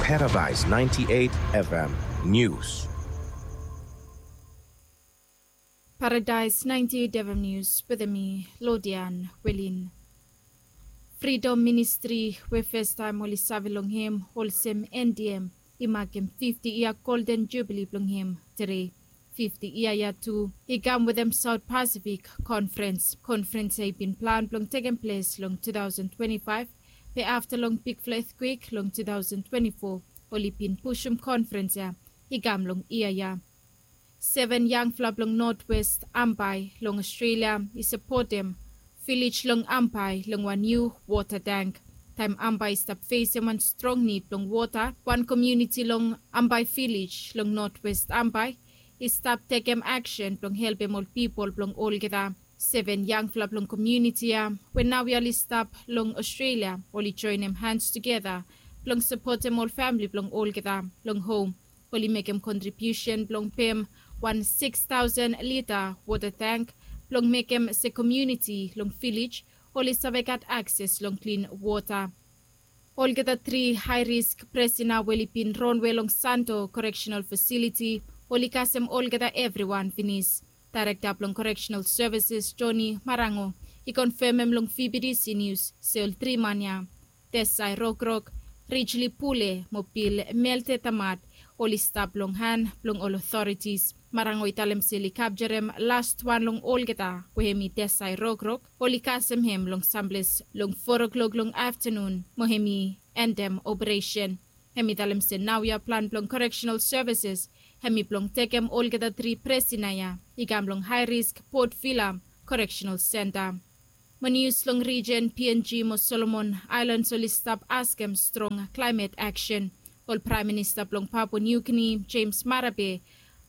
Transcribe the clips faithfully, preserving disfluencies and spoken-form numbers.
Paradise ninety-eight F M News. Paradise ninety-eight F M News wetem mi, Lodian Welin. Fridom Ministri we festaem oli save long hem olsem N D M i makem fifti yia Golden Jubili blong hem tede. Fifti yia ya tu i kam wetem South Pacific Conference. Conference ya i bin plan blong tekem ples long two thousand twenty-five, be afta long bigfala etkwek long two thousand twenty-four, oli bin pusum conference ya i kam long yia ya. Seven yangfala blong Northwest Ambae long Australia i sapotem vilej long Ambae long wan niu wota tank. Taem Ambae i stap fesem wan strong nid blong wota, wan komuniti long Ambae Vilej long Northwest Ambae i stap tekem aksen blong helpem ol pipol blong olgeta. Seven yangfala blong komuniti ya we naoia oli stap long Australia, oli joenem hans tugeta blong sapotem ol famili blong olgeta long hom. Oli mekem kontribiusen blong pem wan sikis taosen lita wota tank blong mekem se komuniti long vilej oli save gat akses long klin wota. Olgeta tri hae risk prisona we oli bin ronwe long Santo Correctional Facility, oli kasem olgeta evriwan finis. Daerekta blong Correctional Services, Johnny Marango, i konfemem long V B T C News se ol tri man ya, Desai Rokrok, Rijli Pule mo Bil Melte Tamat, oli stap long han blong ol otoritis. Marango i talem se oli kapjarem lastwan long olgeta we hem i Desai Rokrok, oli kasem hem long samples long foa klok long aftanun mo hem i endem operesen. Hem i talem se naoia plan blong Correctional Services hem i blong tekem olgeta tri prisona ya i kam long hae risk Port Vila Correctional Center. Mo nius long rijen P N G mo Solomon Aelans oli stap askem strong klaemet aksen. Ol Praem Minista blong Papua Niu Gini, James Marape,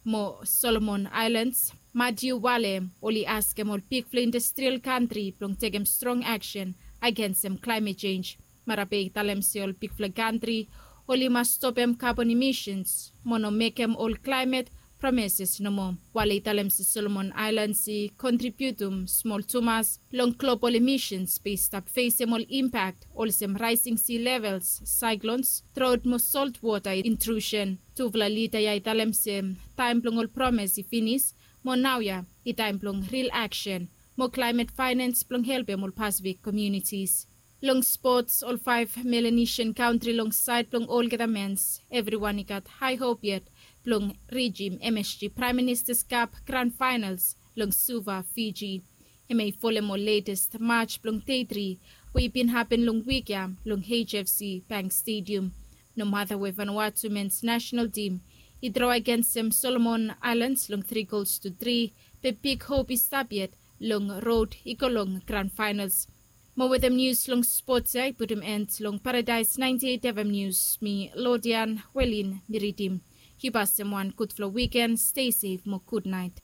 mo Solomon Aelans, Matiu Wale, oli askem ol bigfala industrial kantri blong tekem strong aksen agensem klaemet jenj. Marape i talem se ol bigfala kantri oli mas stopem kabon imisens mo no mekem ol klaemet promeses nomo. Wale i talem se Solomon Aelans i kontribiutum smol tumas long global imisens be i stap fesem ol impak olsem raesing si levels, saeklons, drot mo soltwota intrusen. Tufala lida ya i talem se taem blong ol promes i finis, mo naoia i taem blong ril aksen mo klaemet faenans blong helpem ol Pasifik komunitis. Long spots, ol faef Melanesian kantri long saed blong olgeta mens, evriwan i gat hae hop yet blong rijim M S G Praem Minista's Cup gran faenals long Suva, Fiji. Hem i folem ol letes maj blong dei tri we i bin hapen long wik ya long H F C Bank Stadium. Nomata we Vanuatu mens nasenal tim i dro agensem Solomon Aelans long tri gols tu tri, be big hop i stap yet long rod i go long gran faenals. Mo wetem nius long spots ya i putum en long Paradise ninety eight F M Nius, mi Lodian Welin mi ridim. Yu pasem wan gudfala wiken, stay sef mo gudnaet.